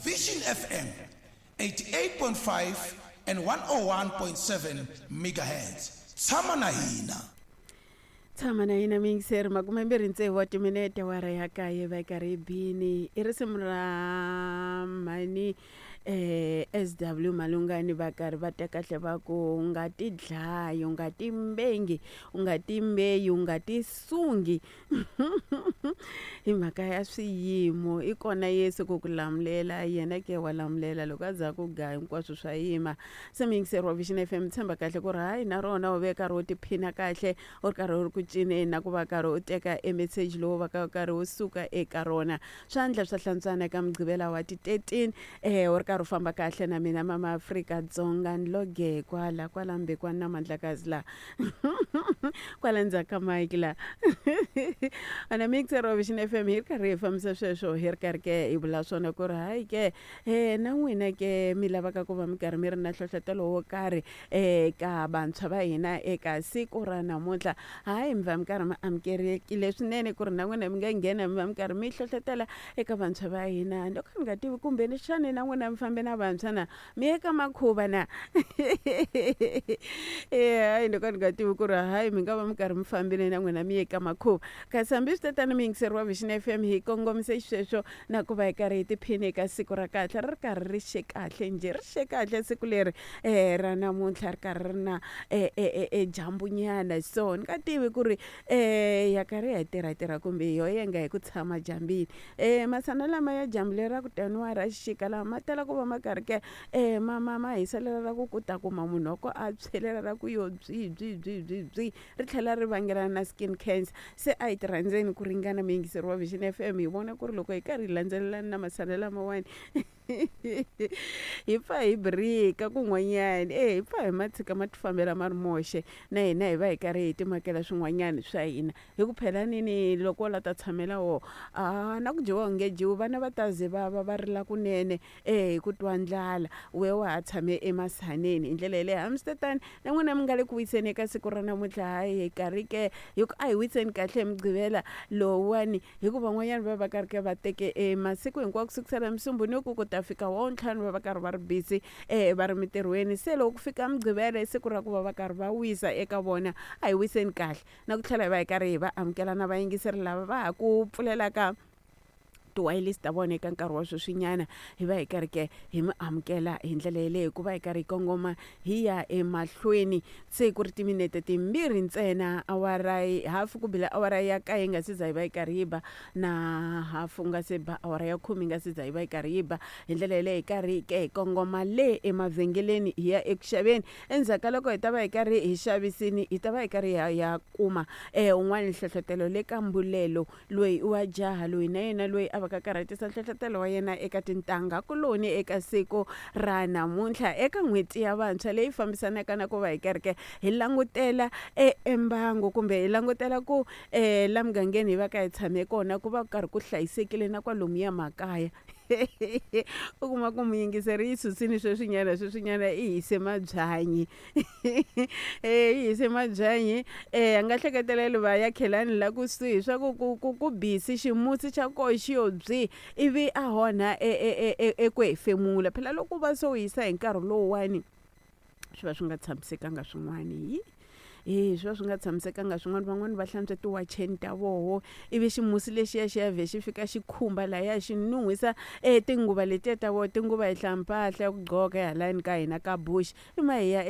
Vision FM 88.5 and 101.7 megahertz. Tshama na hina. Tshama na hina miyingiseri 26 wa timinete awara ya kaye va yi karhi yi bini i risimu ra mhani SW Malungani va karhi va ta kahle va ku u nga ti dlayi u nga ti mbengi u nga ti mbeyi u nga ti sungi hi mhaka ya swiyimo i kona Yesu ku ku lamulela yena ke wa lamulela loko a za ku ga hinkwaswo swa yima se muyingiseri wa Vision FM tshemba kahle ku ri hayi na rona u ve karhi u tiphina kahle u ri karhi u ri ku cineni na ku va karhi u teka e meseji lowu va ka karhi wu suka eka rona swandla swa hlantswana eka mugqivela wa ti 13 u ri karhi u famba kahle na mina mama Afrika Dzonga ni loge kwala kwala mbekwana na mandlakazi la kwala ndzhaku ka mike la ana mixer wa Vision FM hi ri karhi hi fambisa sweswo hi ri karhi ke hi vula swona ku ri hayi ke na n'wina ke mi lavaka ku va mi karhi mi ri na nhlohlotelo wo karhi eka vantshwa va hina eka siku ra namuntlha hayi mi va mi karhi mi amukelekile swinene ku ri na n'wina mi nga nghena mi va mi karhi mi hlohlotela eka vantshwa va hina loko ni nga tivi kumbe ni xana na n'wina mi fambe na vantshwa na mi ye ka makhuva na hayi loko ni nga tivi ku ri hayi mi nga va mi karhi mi fambile na n'wina mi ye ka makhuva kasi hambi swi tatana mi yingiseri wa Vision FM hi kongomise xisweswo na ku va hi karhi hi tiphina eka siku ra kahle ri ri karhi ri xe kahle njhe ri xe kahle siku leri ra namuntlha ri karhi ri na e dyambunyana so ni nga tivi ku ri ya karhi ya tirha tirha kumbe yo yenga hi ku tshama dyambini masana lama ya dyambu leri ra ku taniwa ra xixika lama ma tala ku va ma karhi ke ma ma ma hiselela ra ku ku ta kuma munhu wa ko a tshwelela ra ku yo byi byi byi byi byi ri tlhela ri vangelana na skin cancer se a hi ti rhandzeni ku ringana muyingiseri wa Vision FM hi vona ku ri loko hi karhi hi landzelelana na masana lamawani hi pfa hi birika kun'wanyana e hi pfa hi ma tshika ma tifambela ma ri moxe na hina hi va hi karhi hi timakela swin'wanyana swa hina hi ku phela nini loko wo la ta tshamela wo a na ku dyiwa u nge dyiwi vana va ta ze va va va rila kunene e hi ku twa ndlala we wa ha tshame emasaneni hi ndlela yeleyo hambiswitetano na n'wina mi nga le ku wiseni eka siku ra namuntlha hayi hi karhi ke hi ku a hi wiseni kahle hi mugqivela lowuwani hi ku van'wanyana va va karhi ke va teke e masiku hinkwawo ku sukusela musumbhunuku ku ta fika wa ntlhanu va va karhi va ri busy va ri mintirhweni se loko ku fika mugqivela i siku ra ku va va karhi va wisa eka vona a hi wiseni kahle na ku tlhela hi va hi karhi hi va amukela na vayingiseri lava va ha ku pfulelaka tiwayilisi ta vona eka nkarhi wa sweswinyana hi va hi karhi ke hi mi amukela hi ndlela yeleyo ku va hi karhi hi kongoma hi ya emahlweni se ku ri timinete timbirhi ntsena awara hafu ku bile awara ya kaye yi nga se za yi va yi karhi yi ba na hafu nga se ba awara ya khume yi nga se za yi va yi karhi yi ba hi ndlela yeleyo hi karhi ke hi kongoma le emavhengeleni hi ya eku xaveni endzhaku ka loko hi ta va hi karhi hi xavisini hi ta va hi karhi hi ya kuma un'wana nhlohlotelo le ka mbulelo Loyi i wa jaha loyi na yena loyi a vaka karhatisa nhlohlotelo wa yena eka tintangha kuloni eka siku ra namuntlha eka n'hweti ya vantshwa leyi fambisanaka na ku va hi kereke hi langutela e embangu kumbe hi langutela ku la mugangeni hi va ka hi tshame kona ku va ku karhi ku hlayisekile na kwalomuya makaya. U kuma ku muyingiseri yi susile sweswinyana sweswinyana i hise mabyanyi i hise mabyanyi a nga hleketeleli va ya khelani la kusuhi swa ku ku ku ku busy ximusi xa koho xi yo byi ivi a onha eku hefemula phela loko u va se u hisa hi nkarhi lowuwani swi va swi nga tshamisekanga swin'wani yi e swi va swi nga tshamisekanga swin'wana van'wani va hlantswa tiwacheni ta voho ivi ximusi lexiya xi ya vhe xi fika xi khumba lahaya xi nun'hwisa e tinguva letiya ta voho tinguva hi hlaya mpahla ya ku gqoka halani ka hina ka bush i ma hi ya.